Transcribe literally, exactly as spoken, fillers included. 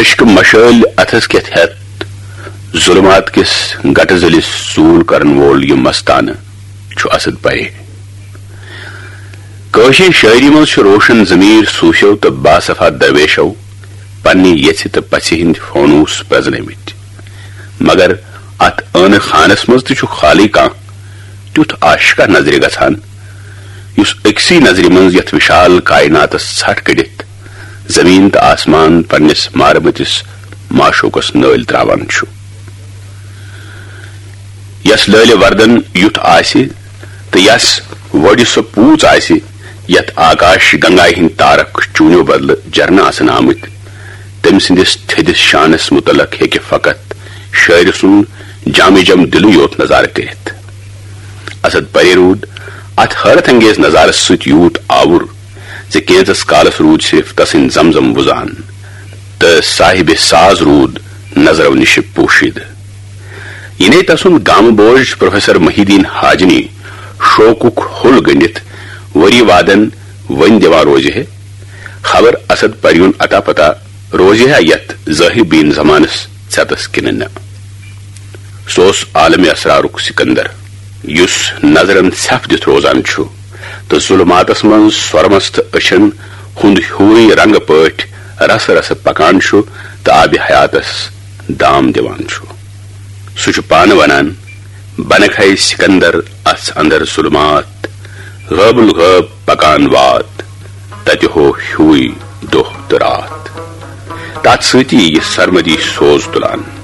عشقہٕ مشٲلۍ اتھس کٮ۪تھ ہٮ۪تھ، ظلمات کِس گٹہٕ ذٔلِس ژوٗل کرن وول یہِ مستانہٕ چھُ اسد پرے۔ کٲشرِ شٲعری منٛز چھُ روشن ضمیٖر صوٗفیو تہٕ باصفا درویشو پننہِ یژھِ تہٕ پژھِ ہٕنٛدۍ فونوٗس پرزنٲومٕتۍ، مگر اتھ ٲنہٕ خانس منٛز تہِ چھُ خالٕے کانٛہہ تیُتھ عاشقہ نظرِ گژھان، یُس أکسٕے نظرِ منٛز یتھ وشال کائناتس ژھٹھ کٔڑِتھ زمین تہٕ آسمان پننِس مارٕ مٔتِس معشوقس نٲلۍ تراوان چھُ۔ یس لٲلہِ وردن یُتھ آسہِ تہٕ یس وۄڈِ سۄ پوٗژ آسہِ، یتھ آکاش گنگایہِ ہٕنٛدۍ تارک چوٗنیو بدلہٕ جرنہٕ آسن آمٕتۍ، تٔمۍ سٕنٛدِس تھٔدِس شانس متعلق ہیٚکہِ فقط شٲعرٕ سُنٛد جامِ جم دِلٕے یوت نظارٕ کٔرِتھ۔ اسد پرے روٗد اتھ حٲرت انگیز نظارس سۭتۍ یوٗت آوُر زِ کینژس کالس روٗد صرف تسٕنٛدۍ زمزم وُزان تہٕ صاحبِ ساز روٗد نظرو نِشہِ پوشیدٕ۔ یہِ نے تسُنٛد گامہٕ بوج پروفیسر محی الدین حاجنی شوقُک ہوٚل گٔنڈِتھ ؤری وادن ؤنۍ دِوان روزِ ہے، خبر اسد پریُن اتا پتا روزِ ہا یتھ ظٲہر بیٖن زمانس ژٮ۪تس کِنہٕ نہ۔ سُہ اوس عالمِ اسرارُک سکندر، یُس نظرن ژھٮ۪پھ دِتھ روزان چھُ تہٕ ظلماتس منٛز سۄرمس تہٕ أچھن ہُنٛد ہیوٗے رنگہٕ پٲٹھۍ رسہٕ رسہٕ پکان چھُ تہٕ آبِ حیاتس دام دِوان چھُ۔ سُہ چھُ پانہٕ ونان، "بنہٕ کھے سکندر اتھ اندر ظلمات، غٲب الغٲب پکان وات، تتہِ ہو ہیوٗے دۄہ تہٕ راتھ۔" تتھ سۭتی یہِ سرمدی سوز تُلان۔